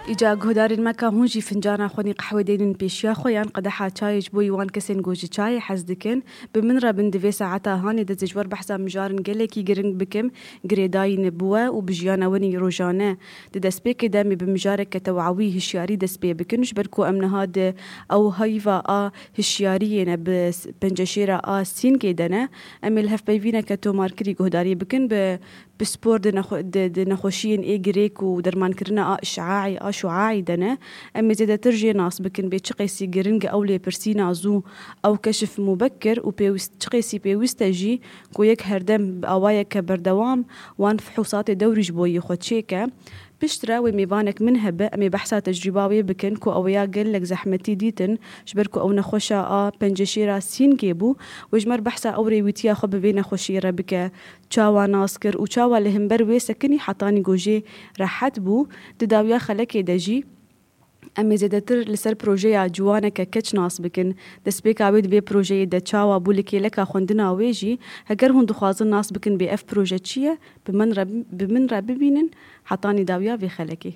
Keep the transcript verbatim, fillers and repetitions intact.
Îca guhdarên me ka hûn jî fincana xwenî qehwe dênin pêşiya xwe yan qedeha çayê ji bo wan kesên ku ji çayê hez dikin, bi min re bin di vê saeta hanê de ji wer behsa mijarin gelekî giring bikim, girêdayî ne bi we û bi jiyana winî rojane. Di destpêkê de em ê bi mijareke tewawî hişyarî dest pê bikin, ji ber ku em niha di ew heyva a hişyariyê ne bi s-, penceşêra a sîngê de ne. Em ê li hevpeyvîneke tomarkirî guhdarî bikin bi pispor di nexwe-, di, di nexweşiyên ê girêk û dermankirina a işaî, a şuaî de ne. Em ê zêdetir jê nas bikin bê çi qêsî giring ew lêpirsîna zû, ew keşif mubekir û pêwîst, çi qêsî pêwîst e jî ku yek herdem bi awayeke berdewam wan fihûsatê dewrî ji bo yê xwe çêke. Piştre wê mêvanek min hebe, em ê behsa tecrûba wê bikin ku ew ya gelek zehmetî dîtin, ji ber ku ew nexweşa a penceşêra sîngê bû, wê ji me re behsa ew rêwîtiya xwe bi vê nexweşiyê re bike. Çawa nas kir û çawa li hember wê sekinî hetanî ku jê rehet bû, di dawiya xelekê de jî em ê zêdetir li ser projeya ciwaneke keç nas bikin. Destpêka wê di vê projeyê de çawa bû li kêleka xwendina wê jî, heger hûn dixwazin nas bikin bê ev proje çi ye, bi min re, bi min re bibînin hetanî dawiya vê xelekê.